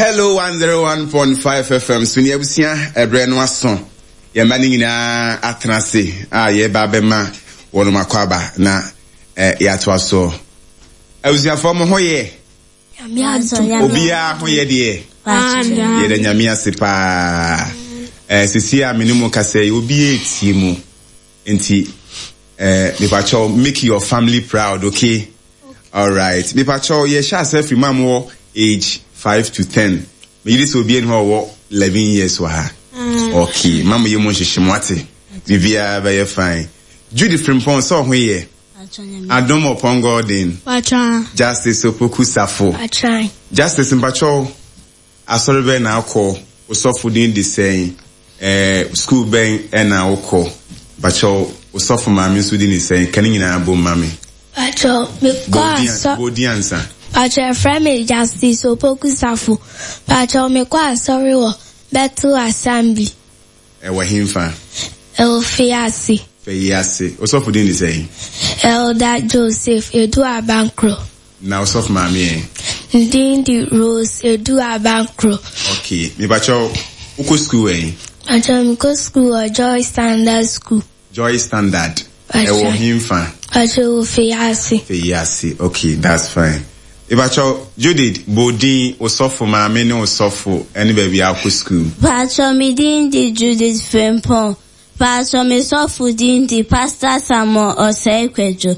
Hello 101.5 FM so ne abusua ɛberɛ no aso yɛn mma no nyinaa atena ase a yɛreba abɛma wɔn akɔ aba na eh, yɛatoa soɔ. Abusuafoɔ mo ho yɛ? Obiara ho yɛ deɛ? Yɛda Nyame ase paa. Eh, sisi a me ne mo kasa yi obiara etie mu. Nti eh, mepakyɛw make your family proud, okay? Alright. Mepakyɛw yɛhyɛ ase afiri mu a mowɔ age 5 to 10. Megye di sɛ obiara ni hɔ a ɔwɔ 11 years wɔ ha. Okay, ma mo yɛ mu nhyehye mo ate. Biribiara bɛyɛ fine. Judy Frimpong sɛ ɔho yɛ? Adom Ɔpɔn Gordon. Justice Opoku Safo. Justice mpakyɛw Asɔre bɛn na wokɔ? Wo sɔfo din de sɛn? Ɛɛ, sukuu bɛn na wokɔ? Mpakyɛw, wo sɔfo maame nso din de sɛn? Ka ne nyinaa bom ma me. Mpakyɛw, mekɔ asɔ. Bɔ wo din ansa. Mpakyɛw, yɛfrɛ me Justice Opoku Safo. Mpakyɛw, mekɔ asɔre wɔ Bethel Assembly. Ɛwɔ henfa? Ɛwɔ Feyiase. Feyiase. Wo sɔfo din de sɛn? Elder Joseph Edu Abankro. Na ɔsɔfo maame ɛ? Ne din de Rose Edu Abankro. Okay, mepakyɛw, wokɔ sukuu wɛn? Mepakyɛw, mekɔ sukuu wɔ Joy Standard School. Joy Standard, ɛwɔ henfa? Mepakyɛw, ɛwɔ Feyiase. Feyiase, okay, that's fine. Mepakyɛw, Judith, bɔ wo din, wo sɔfo maame ne wo sɔfo ɛne baabi a wokɔ sukuu. Mepakyɛw, me din de Judith Frimpong. Paatwɔ me sɔfo din de Pastor Samuel Osei Kwadwo.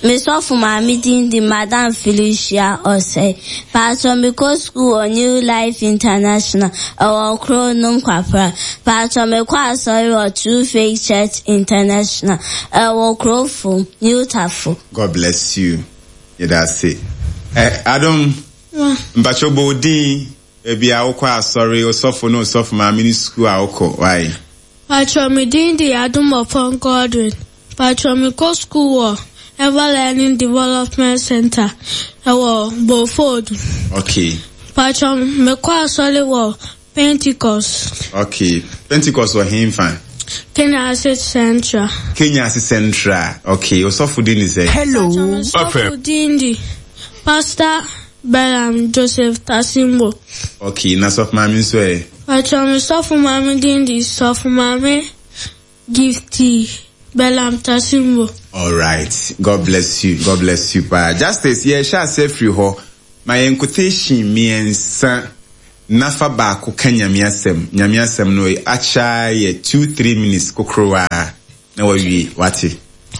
Me sɔfo maame din de Madam Felicia Osei. Paatwɔ me kɔ sukuu wɔ New Life International ɛwɔ Kronom Kwapra. Paatwɔ me kɔ asɔre wɔ True Faith Church International ɛwɔ Krofrom, New Tafo. God bless you. Yɛda ase. Eh, Adom, mpakyɛw bɔ wo din Baabi a wokɔ asɔre, osɔfo ne osɔfo maame ne sukuu a wokɔ, why? Patrɔ me din de Adom Ɔpɔn Godwin. Patrɔ me kɔ sukuu wɔ Ever Learning Development Center ɛwɔ Bofodu. Okay. Patrɔ me kɔ asɔre wɔ Pentecost. Okay. Pentecost wɔ henfa? Kenyase Central. Kenyase Central. Okay. Osɔfo din de sɛn? Hello. Patrɔ me sɔfo din de Pastor Balaam Joseph Tasimbo. Okay, na sɔfo maame nso ɛ? Patrɔ me sɔfo maame din de Sɔfo Maame Gifty Balaam Tasimbo. Alright, God bless you, God bless you paa. Justice, yɛrehyɛ ase afiri hɔ. Ma yɛn quotation mmiɛnsa na fa baako ka Nyame asɛm. Nyame asɛm no akyɛ ara yɛ two, three minutes kokorowaa na wawie, wate?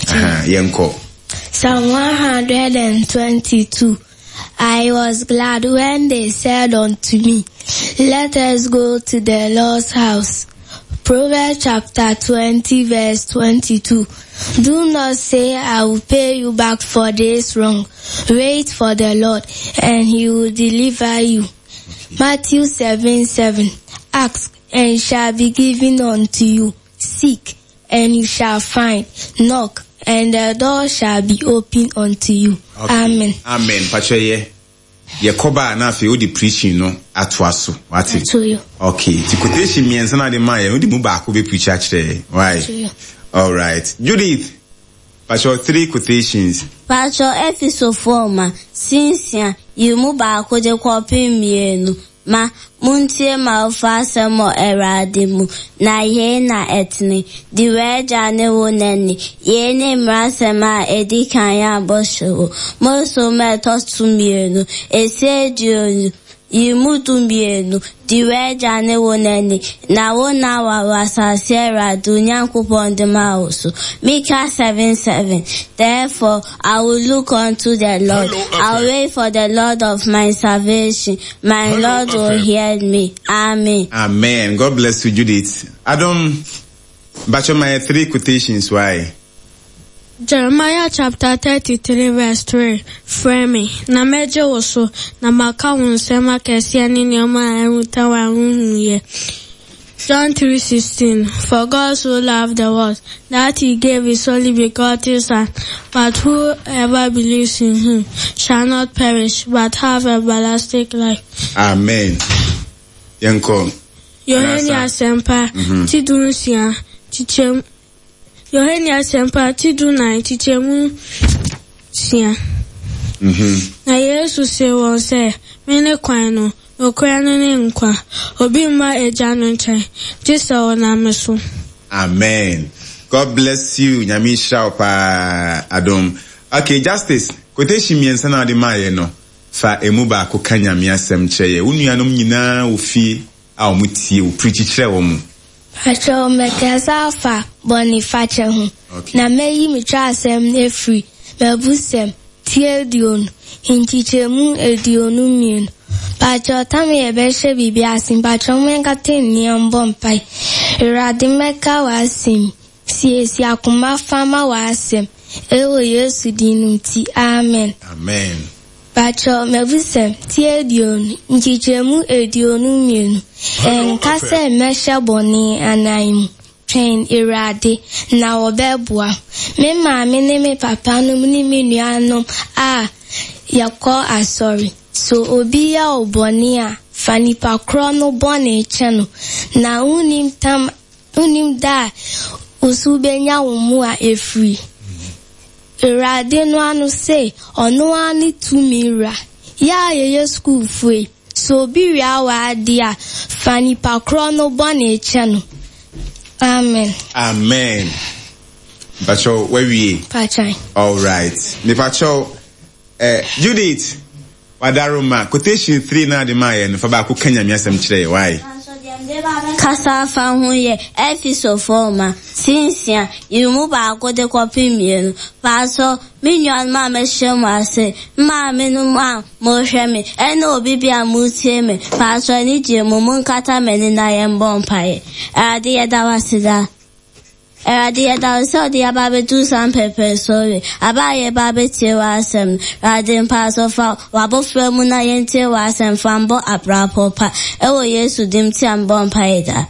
Aha, yɛnkɔ. Psalm 122 I was glad when they said unto me, Let us go to the Lord's house. Proverbs chapter 20 verse 22. Do not say, I will pay you back for this wrong. Wait for the Lord and he will deliver you. Matthew 7, 7. Ask and shall be given unto you. Seek and you shall find. Knock and the door shall be opened unto you. Okay. Amen. Amen. Pakyɛ yɛ yɛkɔ ba a na afei wode preaching no atoa so. Wate? Okay. Ti quotation mmiɛnsa na ade maa yɛ no wode mu baako bɛ preach akyerɛ yɛ. Why? All right. Judith, pakyɛ three quotations. Pakyɛ Efesofoɔ ma, sinsia, yi mu baako de kɔpem mmienu. Ma, montie m'awofo asɛm wɔ Awurade mu, na yei na ɛtene. Di w'agya ne wo na ni. Yei ne mmaransɛm a ɛdi kan a bɔhyɛ wɔ. Mose nwoma a ɛtɔ so mmienu, ese aduonu, yi mu 12, Di w'agya ne wo na ni, na wo nna aware wɔ asase a Awurade wo Nyankopɔn de ma wo so. Mika 7:7 Therefore I will look unto the Lord. I will wait for the Lord of my salvation. My Hello, Lord will hear me. Amen. Amen. God bless you, Judith. Adam, but my three quotations, why? Jeremiah chapter 33 verse 3 Frɛ me, na mɛgye wo so, na maka wo nsɛm akɛseɛ ne nneɛma a ɛnwota wɔ a wonhuiɛ. John 3:16 For God so loved the world that he gave his only begotten Son, but whoever believes in him shall not perish, but have everlasting life. Amen. Yɛnkɔ. Yohane Asɛmpa ti dunsia kyekyɛm Yohane Asɛmpa ti dunan kyekyɛmu nsia. Na Yesu see wɔn sɛ, Mene kwan no. nokorɛ no ne nkwa. Obi mma Agya no nkyɛn, gye sɛ ɔnam me so. Amen God bless you Nyame nhyira wo paa Adom. Okay Justice, quotation mmiɛnsa na wode maayɛ no, fa emu baako ka Nyame asɛm kyerɛ yɛ. Wo nuanom nyinaa wɔ fie a wɔn tie wo, preachi kyerɛ wɔn. Pakyɛw mɛkasa afa bɔnefakyɛ ho, na mɛyi me twerɛasɛm no afiri m'abusɛm ti aduonu, nkyekyɛmu 22. Pakyɛw tam yɛbɛhyɛ biribi ase, mpakyɛw monkata nni mbɔ mpae. Awurade mɛka w'asɛm yi, siesie akoma fa ma w'asɛm, ɛwɔ Yesu din no nti, amen. Amen. Pakyɛw, m'abusɛm, ti 20, nkyekyɛmu 22, Ɛnka sɛ mɛhyɛ bɔne anan mu, twɛn Awurade, na ɔbɛboa. Me maame ne me papa nom ne me nuanom a yɛkɔ asɔre. So obi yɛ wo bɔne a, fa nipa korɔ no bɔne kyɛ no, na wonnim tam wonnim da a wo so wobɛnya wo mmoa afiri. Awurade no ano se ɔno ara ne tumi wura. Yɛ a yɛyɛ sukuufoɔ yi, sɛ obi wia w'adeɛ a, fa nipa korɔ no bɔne kyɛ no. Amen. Amen. Mpakyɛw wawie? Mpakyɛw. All right. Mepakyɛw eh, Judith Wadaroma, quotation 3 na ade maa yɛ no, fa baako ka Nyame asɛm kyerɛ yɛ, why? Kasa afa ho yɛ Efesofo nhoma, ti nsia, yi mu baako de kɔpem mmienu. Paatɔ, me nuanom a mahyia mo ase, me maamenom a mohwɛ me, ɛne obi bi a motie me, paatɔ anigye mu, monkata m'ani na yɛmbɔ mpaeɛ. Awurade yɛda wo ase daa. Awurade, yɛda wo sɛ wode yɛn aba abɛduru saa mpɛmpɛnsoɔ wei, aber a yɛreba abɛtie w'asɛm no. Awurade, mpaasɔ fa w'abɔfra mu na yɛntie w'asɛm fa mbɔ abrabɔ pa. Ɛwɔ Yesu din mu tia mbɔ mpaeɛ daa.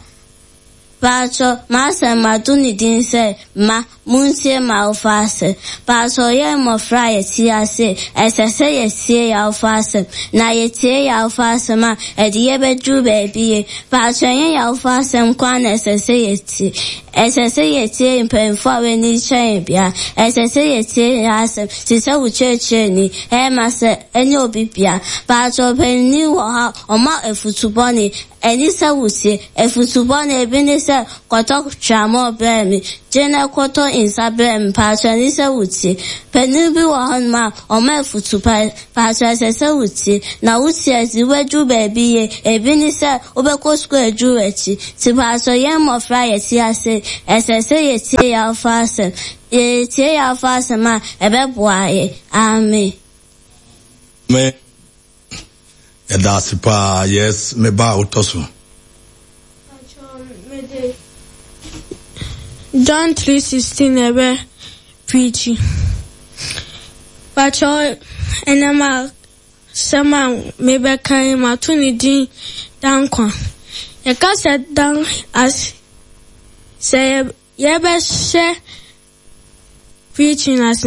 Paatwɔ, m'asɛm mato ne din sɛ, Mma, Montie m'awofo asɛm. Paatwɔ, yɛn mmɔfra a yɛte ase yi, ɛsɛ sɛ yɛtie yɛn awofo asɛm. Na yɛtie yɛn awofo asɛm a, ɛde yɛn bɛduru baabi yie. Paatwɔ, ɛnyɛ yɛn awofo asɛm nko ara na ɛsɛ sɛ yɛtie. Ɛsɛ sɛ yɛtie mpanyimfo a wɔn ani kyerɛ yɛn biara. Ɛsɛ sɛ yɛtie yɛn asɛm te sɛ wo kyerɛkyerɛni, headmaster, ne obi biara. Paatwɔ, ɔpanyin wɔ hɔ a, ɔma afutu bɔne. Ɛne sɛ wutie. Afutu bɔne ebi ne sɛ, kɔtɔ tramɔɔ brɛ me, gye na kɔtɔ nsa brɛ me. Paatwɔ ɛne sɛ wutie. Panin bi wɔ hɔnom a, ɔma afutu pa. Paatwɔ ɛsɛ sɛ wutie. Na wutie a, ɛde wobɛduru baabi yie. Ebi ne sɛ, wobɛkɔ sukuu aduru w'akyi. Nti paatwɔ yɛn mmɔfra a yɛte ase yi, ɛsɛ sɛ yɛtie yɛn awofo asɛm. Yɛtie yɛn awofo asɛm a, ɛbɛboa yɛn. Amen. Me yɛda ase paa yes me ba a wotɔ so. John 3:16 na ɛbɛ preachi. Pakyɛ ɛnam a sɛm a mebɛka yi mato ne din Dankwa. Yɛka sɛ dan as sɛ yɛbɛhyɛ preaching ase.